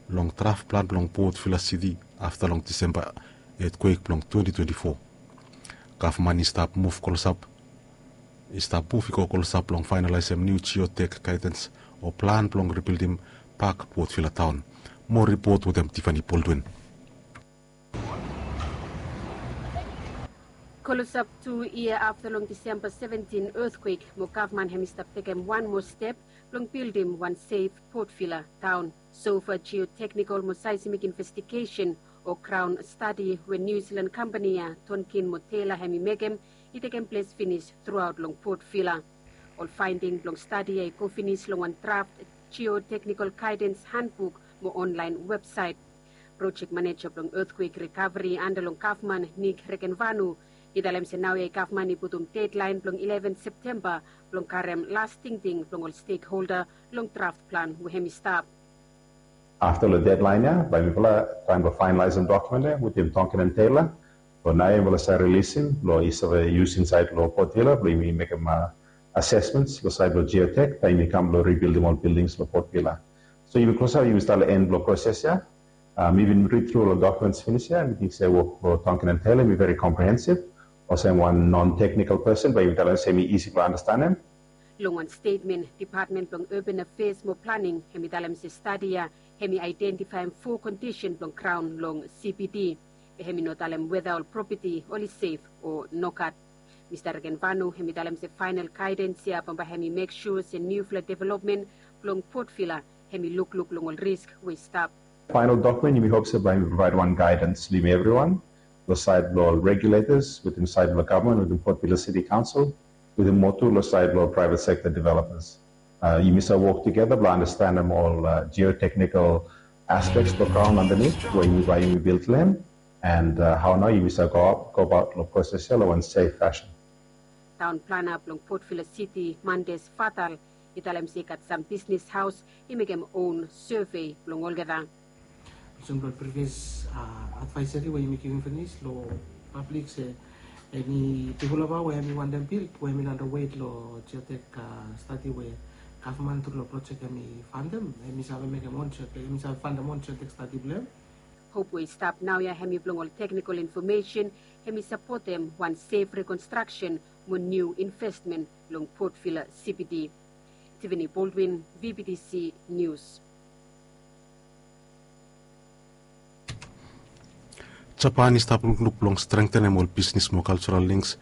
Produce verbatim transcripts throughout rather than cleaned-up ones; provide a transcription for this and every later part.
long draf plan blong Port Vila City afta long Disemba etkwek blong twenty twenty-four. Gavman i stap muv klosap i stap muv i go klosap long fainalaesem niu geotek gaidens o plan blong ribildim pak Port Vila taon. Moa ripot wetem Tiffany Baldwin. Klosap tu yia afta long Disemba seventin etkwek, mo gavman hem i stap tekem wan moa step blong bildim wan sef Port Vila taon. Sofa geoteknikol mo seismik investigesen o graon stadi we Niu Silan kampani ya Tonkin mo Tela hem i mekem i tekem ples finis truaot long Port Vila. Ol faending blong stadi ya i go finis long wan draft geoteknikol gaidens handbuk mo onlaen websaet. Projek maneja blong etkwek rikaveri anda long gavman Nik Rekenvanu i talem se naoia gavman i putum dedlaen blong eleven Septemba blong karem las tingting blong ol stekholda long draft plan we hem i stap. Afta long dedlaen ya bae mifala traem blong faenalaesem dokumen ya wetem Tonkin and Tela. Blong naoia mifala save rilisim blong i save yus insaed long Port Vila blong yumi mekem asesmens long saed blong geotek taem yumi kam blong ribildim ol bildings long Port Vila. So yumi klosap, yumi stap long en blong proses ya. Mi bin rid tru ol dokuments finis ya, mi ting se wok blong Tonkin and Tela hem i veri komprehensiv. Olsem wan non-teknikol pesen bae yumi talem se hem i isi blong andastanem. Long wan stetmen, Depatmen blong Urban Affairs mo Planing hem i talem se stadi ya hem i aedentifaem fo kondisen blong graon long C B D. Be hem i no talem weta ol propeti oli sef o nogat. Mista Rekenvanu hem i talem se faenal gaedens ya bambae hem i mek sua se niufala developmen blong Port Vila hem i lukluk long ol risk we i stap. Faenal dokumen yumi hop se bae yumi provaed wan gaedens long yumi evriwan, long saed blong ol regulators wetem saed blong gavman wetem Port Vila City Council, wetem moa tu long saed blong ol praevet sekta developers. Yumi save wok tugeta blong andastanem ol geoteknikol aspeks blong graon andanit we yumi bae yumi bildim, and hao nao yumi save go abaot long proses ya long wan sef fasin. Taon plana blong Port Vila City, Mandes Fatal, i talem se i gat sam bisnes haos i mekem own survey blong olgeta. Olsem long previous advaesari we yumi givim finis long pablik se eni developa we hem i wantem bild we hem i no underweight long geotek stadi we gavman tru long projek hem i fantem, hem i save mekem on geotek, hem i save fantem on geotek stadi blong hem. Hop we i stap naoia hem i blong ol teknikol infomesen hem i sapotem wan sef rekonstraksen mo niu investmen long Port Vila C B D. Tiffany Baldwin, V B T C News. Japan i stap lukluk blong strengtenem ol bisnes mo kaljoral links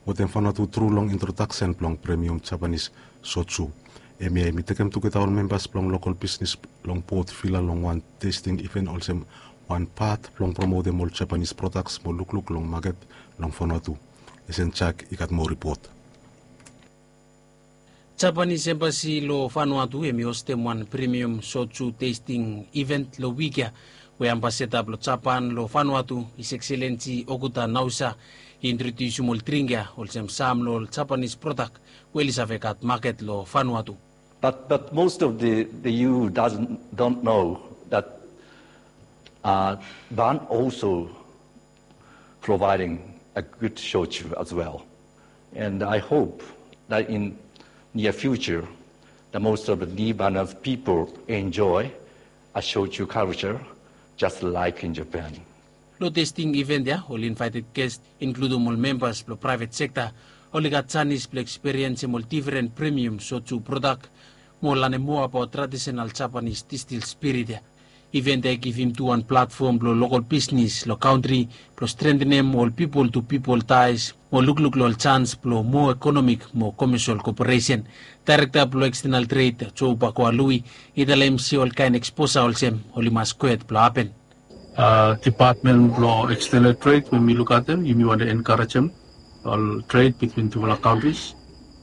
wetem Vanuatu tru long introdaksen blong premium Japanis soju. Hemia hem i tekem tugeta ol membas blong lokol bisnes long Port Vila long wan testing iven olsem wan pat blong promotem ol Japanis prodaks mo lukluk long maket long Vanuatu. Esen Jak i gat moa ripot. Japanis embasi long Vanuatu hem i hostem wan premium soju testing iven long wik ya, we ambasada blong Japan long Vanuatu, His Excellency Okuda Naosa, i introdiusim ol dring ya olsem sam long ol Japanis prodak we oli save gat maket long Vanuatu. But, but most of the, the E U doesn't, don't know that uh, Van also providing a good shochu as well. And I hope that in near future, the most of the Lebanon people enjoy a shochu culture just like in Japan. Long testing event ya, ol invited guest, inkludem ol membas blong private sekta, oli gat janis blong eksperiensem ol diferen premium soju prodak mo lanem moa abaot tradisional Japanese distil spirit ya. Event ya i givim tu wan platfom blong lokol bisnes long kantri blong strentenem ol pipol tu pipol taes mo lukluk long ol jans blong moa ekonomik mo komesol koporesen. Daerekta blong ekstenal tred, Joe Bakoa Lui, i talem se ol kaen eksposa olsem oli mas kwet blong hapen. Depatmen blong ekstenal tred we mi lukaotem, yumi wantem enkarejem ol tred bitwin tufala kantris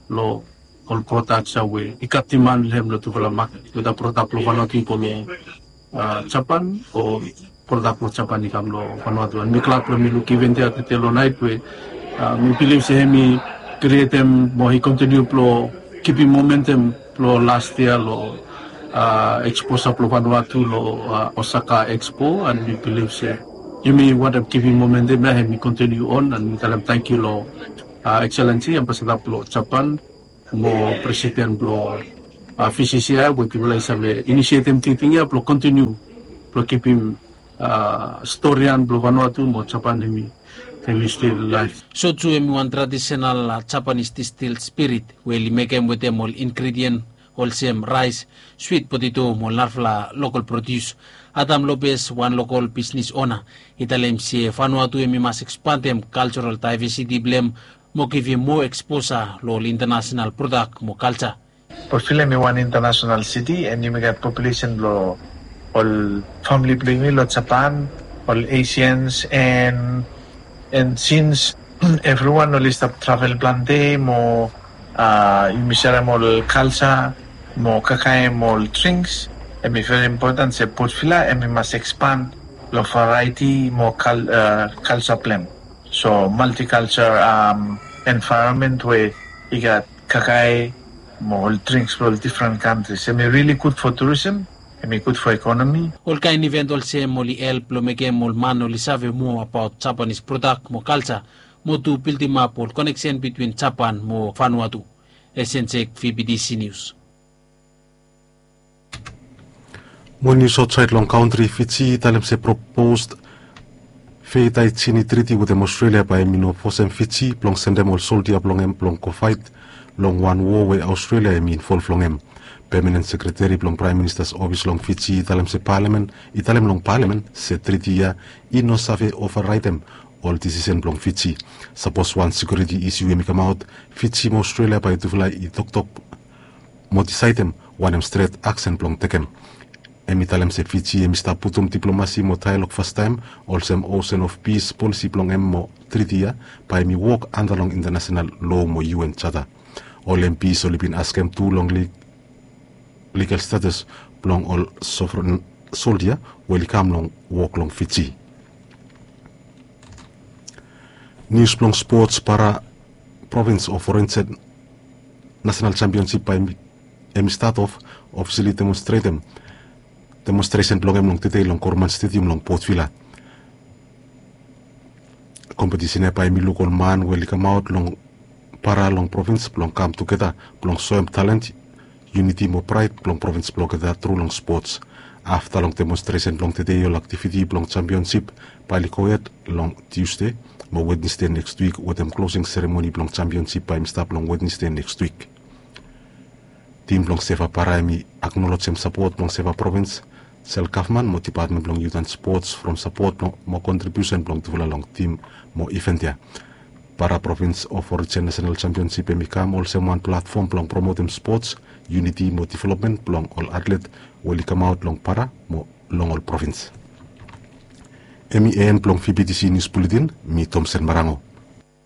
long ol prodaks ya we i gat diman long hem long tufala maket, weda prodak blong Vanuatu i go long Japan o prodak blong Japan i kam long Vanuatu. And mi glad blong mi luk event ya tede long naet we mi bilif se hem i krietem mo i kontiniu blong kipim momentum blong las yia long eksposa blong Vanuatu long Osaka Expo, and mi bilif se yumi wantem kipim momentum ya hem i kontiniu on, and mi talem tangkiu long Excellency Ambasada blong Japan mo Presiden blong V C C I we tufala i save inisietem tingting ya blong kontiniu blong kipim storian blong Vanuatu mo Japan hemi hemi stil laef. So tu hemi wan tradisenal Japanis distil spirit we oli mekem wetem ol ingredien olsem raes, swit poteto mo ol narafala lokol prodius. Adam Lopes, wan lokol bisnis ona, i talem se Vanuatu hemi mas ekspandem kalserol daevesiti blong hem mo givim moa eksposa long ol intanasenal prodak mo kalsa. Port Vila hemi wan intanasenal siti and yumi gat populesen blong ol famili blong yumi long Japan, ol Asians, and and since evriwan oli stap travel plante mo yumi serem ol kalsa mo kakaem ol drinks, hemi veri impoten se Port Vila hemi mas ekspand long variety mo kalsa blong hem. So multiculture environment we i gat kakae mo ol drinks blong ol difren kantris, hemi rili gud fo turism, hemi gud fo ekonomi. Ol kaen iven olsem oli help blong mekem ol man oli save moa abaot Japanis prodak mo kalsa mo tu bildimap ol koneksen bitwin Japan mo Vanuatu. Esensek, V B T C News. Mo nius aotsaed long kantri, Fiji i talem se propos Fei Taitini Triti wetem Aostralia bae hemi no fosem Fiji blong sendem ol soldia blong hem blong go faet long wan wo we Aostralia hemi involv long hem. Pemanen sekreteri blong Praem Minista's ofis long Fiji i talem se palamen i talem long palamen se triti ya i no save ovaraetem ol disisen blong Fiji. Sapos wan sekiuriti isiu hemi kamaot, Fiji mo Aostralia bae tufala i toktok mo disaedem wanem stret aksen blong tekem. Hemi talem se Fiji hemi stap putum diplomasi mo daelog fastaem olsem Ocean of Peace polisi blong hem mo triti ya bae hemi wok anda long intanasenal loa mo U N jata. Ol M Ps oli bin askem tu long ligal status blong ol sovren soldia we oli kam long wok long Fiji. Nius blong spots, para provins of Orense nasenal jampionsip bae hemi stat of ofisali demonstretem demonstresen blong hem long tedei long Korman Stediam long Port Vila. Kompetisen ya bae hemi luk ol man we oli kamaot long para long provins blong kam tugeta blong soem talent, yuniti mo praed blong provins blong olgeta tru long spots. Afta long demonstresen blong tedei ol aktiviti blong jampionsip bae oli gohed long Tiusde mo Wednesde neks wik wetem klosing seremoni blong jampionsip bae hemi stap long Wednesde neks wik. Tim blong Seva Para hemi aknolojem sapot blong Seva Provins, sel gavman mo dipatmen blong yut an spots from sapot mo kontribiusen blong tufala long tim mo iven ya. Para Provins of Origin Nasenal Jampionsip hemi kam olsem wan platfom blong promotem spots, yuniti mo developmen blong ol atlet we oli kamaot long para mo long ol provins. Hemi en blong V B T C Nius Buletin. Mi Tomsen Marango.